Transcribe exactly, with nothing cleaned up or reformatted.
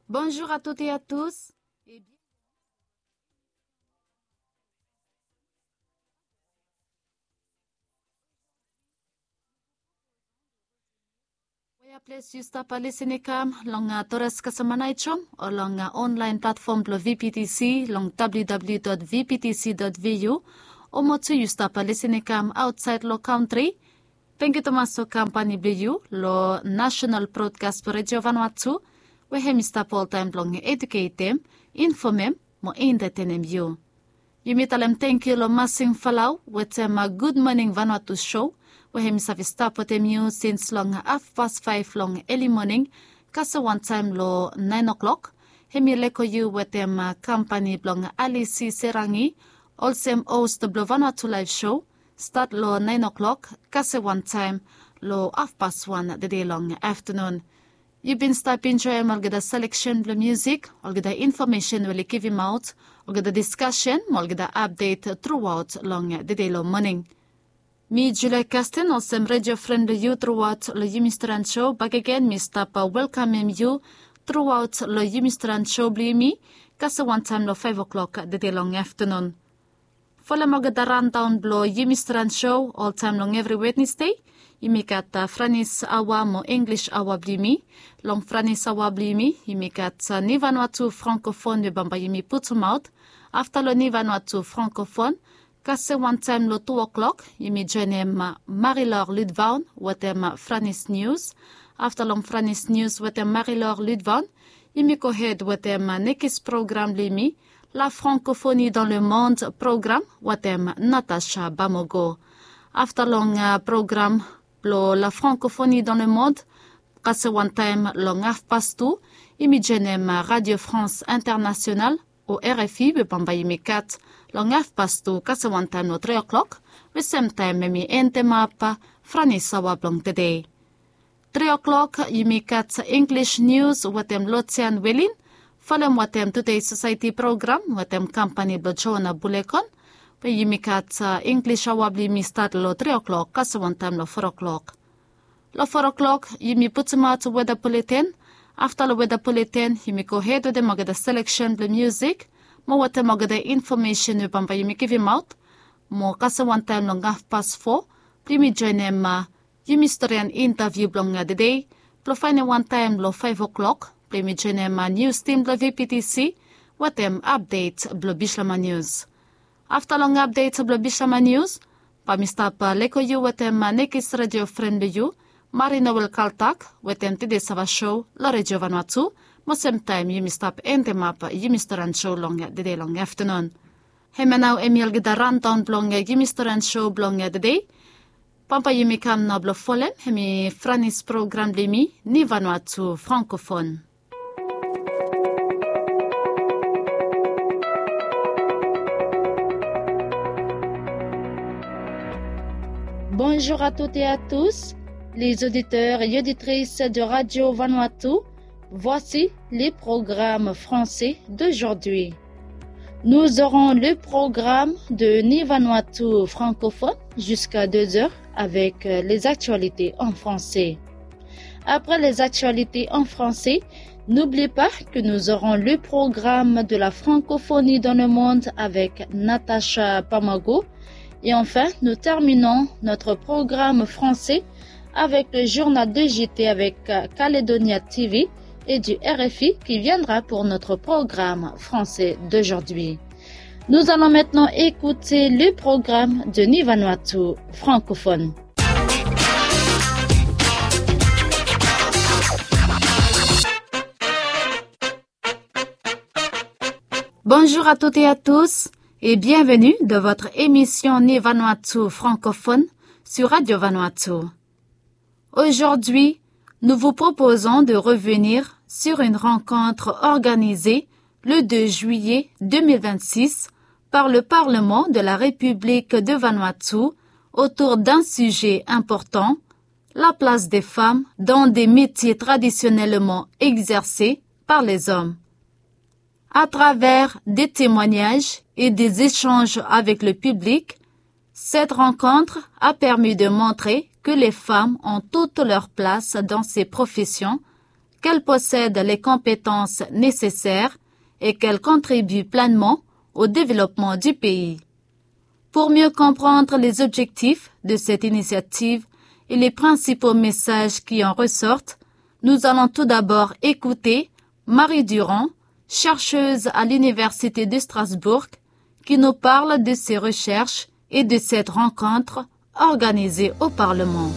Bonjour à toutes et à tous. Wea ples yu stap lisin i kam long Torres Kasama Naijom o long online platform blong V P T C long W W W dot V P T C dot V U. O mo tu yu stap lisin i kam aotsaed long kantri. Tangkiu tumas long kampani blong yu long National Broadcast Radio Vanuatu, we hem i stap oltaem blong eduketem, infomem mo entetenem yu. Yumi talem tangkiu long Masing Falau wetem Good Morning Vanuatu show, we hem i save stap wetem yu sins long hafpas faef long eli moning, kasem wantaem long naen o'clock. Hem i lego yu wetem kampani blong Alisi Serangi, olsem host blong Vanuatu Live Show, stat long naen o'clock kasem wantaem long hafpas wan tede long aftenun. Yu bin stap enjoem olgeta seleksen blong musik, olgeta infomesen we oli givimaot, olgeta diskasen mo olgeta apdet truaot long tede long moning. Mi Julia Kasten olsem redio fren blong yu truaot long yumi Stran Show bakegen mi stap welkamem yu truaot long yumi Stran Show blong yumi, kasem wantaem long faef o'clock tede long aftenun. Folem olgeta randaon blong yumi Stran Show oltaem long evri Wednesde. Yumi gat Franis aoa mo English aoa blong yumi. Long Franis aoa blong yumi yumi gat Ni Vanuatu Francophone we bambae yumi putumaot. Afta long Ni Vanuatu Francophone, kasem wantaem long tu o'clock yumi joenem Marie-Laure Ludvaon wetem Franis News. Afta long Franis News wetem Marie-Laure Ludvaon, yumi gohed wetem nekis program blong yumi, La Francophonie dans le monde program wetem Natacha Bamogo. Afta long program blong La Francophonie dans le monde, kasem wantaem long hafpas tu, yumi joenem Radio France Internationale o R F I we bambae yumi gat long hafpas tu kasem wantaem long tri o'clock, we semtaem hem i endemap Franis aoa blong tede. Tri o'clock yumi gat English News wetem Lotian Welin, folem wetem Today Society program wetem kampani blong Joana Bulekon, we yumi gat English aoa blong yumi stat long tri o'clock kasem wantaem long for o'clock. Long for o'clock yumi putumaot weda buleten. Afta long weda buleten yumi gohed wetem olgeta seleksen blong musik mo wetem olgeta infomesen we bambae yumi givimaot, mo kasem wantaem long hafpas fo blong yumi joenem yumi storian intaviu blong tede, blong faenem wantaem long faef o'clock blong yumi joenem nius tim blong V P T C wetem apdet blong Bislama Nius. Afta long apdet blong Bislama Nius, bae mi stap lego yu wetem nekis redio fren blong yu, Marie-Noëlle Kaltak, wetem Tede Sava Show long Redio Vanuatu, mo semtaem yumi stap endemap yumi Stran Show long tede long aftenun. Hemia nao hem i olgeta randaon blong yumi Stran Show blong tede. Bambae yumi kam nao blong folem hemi Franis program blong yumi, Ni Vanuatu Francophone. Bonjour à toutes et à tous, les auditeurs et auditrices de Radio Vanuatu. Voici les programmes français d'aujourd'hui. Nous aurons le programme de Ni Vanuatu francophone jusqu'à deux heures avec euh, les actualités en français. Après les actualités en français, n'oublie pas que nous aurons le programme de la francophonie dans le monde avec Natacha Pamago. Et enfin, nous terminons notre programme français avec le journal de J T avec euh, Caledonia T V et du R F I qui viendra pour notre programme français d'aujourd'hui. Nous allons maintenant écouter le programme de Ni Vanuatu francophone. Bonjour à toutes et à tous et bienvenue dans votre émission Ni Vanuatu francophone sur Radio Vanuatu. Aujourd'hui, nous vous proposons de revenir sur une rencontre organisée le deux juillet deux mille vingt-six par le Parlement de la République de Vanuatu autour d'un sujet important, la place des femmes dans des métiers traditionnellement exercés par les hommes. À travers des témoignages et des échanges avec le public, cette rencontre a permis de montrer que les femmes ont toute leur place dans ces professions, qu'elle possède les compétences nécessaires et qu'elle contribue pleinement au développement du pays. Pour mieux comprendre les objectifs de cette initiative et les principaux messages qui en ressortent, nous allons tout d'abord écouter Marie Durand, chercheuse à l'Université de Strasbourg, qui nous parle de ses recherches et de cette rencontre organisée au Parlement.